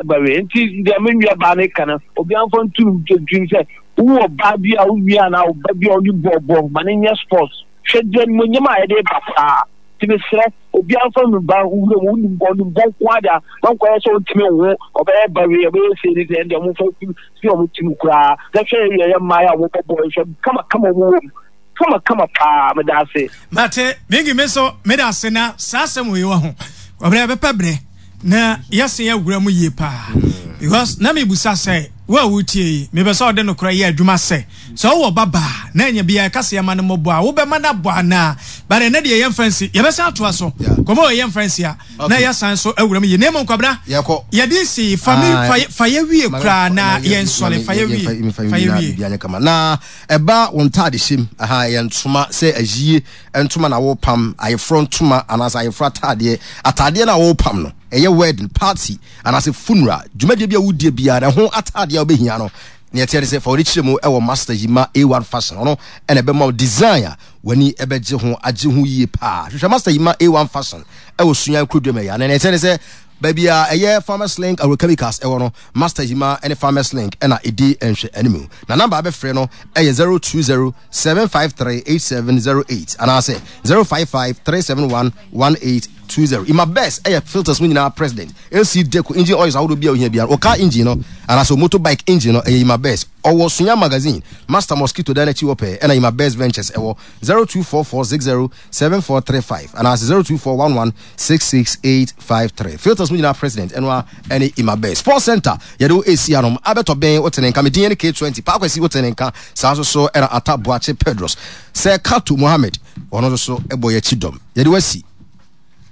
Ba wei nti deɛ me nua baa no ka no obiara mfa ntu no tirim sɛ wowɔ ɔbaa bi a wo nua anaa ɔba bi a ɔne bɔɔl bɔ ma no nyɛ sports hwɛ deɛ animuonyam a yɛde ba paa nti mesrɛ obiara mfa no ba wura mu wonim bɔ ɔnim bɔ nko ada na nkɔyɛ sɛ ɔntumi nwo ɔbɛyɛ ba wei ɔbɛyɛ sei ne sɛ ɛndeɛ ɔmomfa fi ɔmo tirim koraa na hwɛ yɛyɛ mmaa a wɔbɔ bɔɔl hwɛ kama kama ɔmo wɔ mu kama kama paa meda ase. Mate Mingi me nso meda ase na saa asɛm wei wɔ ho ɔbrɛ bɛpɛ brɛ na yɛsen awura mu yie paa because na mebusa sɛ wo a wotie yi mepɛ sɛ ɔde nokorɛ yɛ adwuma sɛ sɛ wowɔ ba baa na ɛnyɛ bia ɛka sɛ yɛma no mmɔbɔ a wobɛma no abɔ anaa but ɛnɛ deɛ yɛmfa nsi yɛbɛsan atoa so kɔmɔ wɔ yɛmfa nsi a na yɛasan so awura mu yie na mmom kwabena yɛde si fa mi fa yɛ wie koraa na yɛnsɔre fa yɛ wie fa yɛ wie na ɛba wo ntaade hyɛm aha yɛ ntoma sɛ ayie ntoma na wopam, ayeforɔ ntoma anaasɛ ayeforɔ ataadeɛ. Ataadeɛ no a wopam no, ɛyɛ wedding, party anaasɛ funeral, dwumadie bi a wodie biara no, ɛho ataadeɛ a wobɛhia no, nea ɛteɛ ne sɛ fa w'ani kyerɛ mu wɔ Master Yima A1 Fashion. Ɔno ɛna ɛbɛma wo design a w'ani ɛbɛgye ho, agye ho yie paa. Hwehwɛ Master Yima A1 Fashion ɛwɔ Sunyani Kurodua mu ɛyɛ. Na nea ɛteɛ ne sɛ baabi a ɛyɛ Farmers Link Agrochemicals ɛwɔ no, Master Yima ne Farmers Link ɛna ɛdi nhwɛ anim. Na namba a bɛfrɛ no ɛyɛ 020 753 8708 anaasɛ 055 371 1820. Ima Best ɛyɛ filters mu nyinaa president. AC Deco engine oils ahodoɔ bi a ohia biara. Ɔcar engine no anaasɛ motorbike engine no ɛyɛ Ima Best. Ɔwɔ Sunya Magazine, Master Mosquito dan n'akyi hɔ pɛɛ ɛna Ima Best Ventures ɛwɔ 0244 60 7435 anaasɛ 02411 66853. Filters mu nyinaa president ɛno a ɛne Imabɛ. Sports Center yɛde wo ɛsi anom abɛtɔ bɛn wote ne nka me din ne K20 Paakwasi wote ne nka saa nso so ɛna Ata Boakye Pedros sɛ Kato Mohammed ɔno nso so ɛbɔ yɛakyi dɔm yɛde wasi.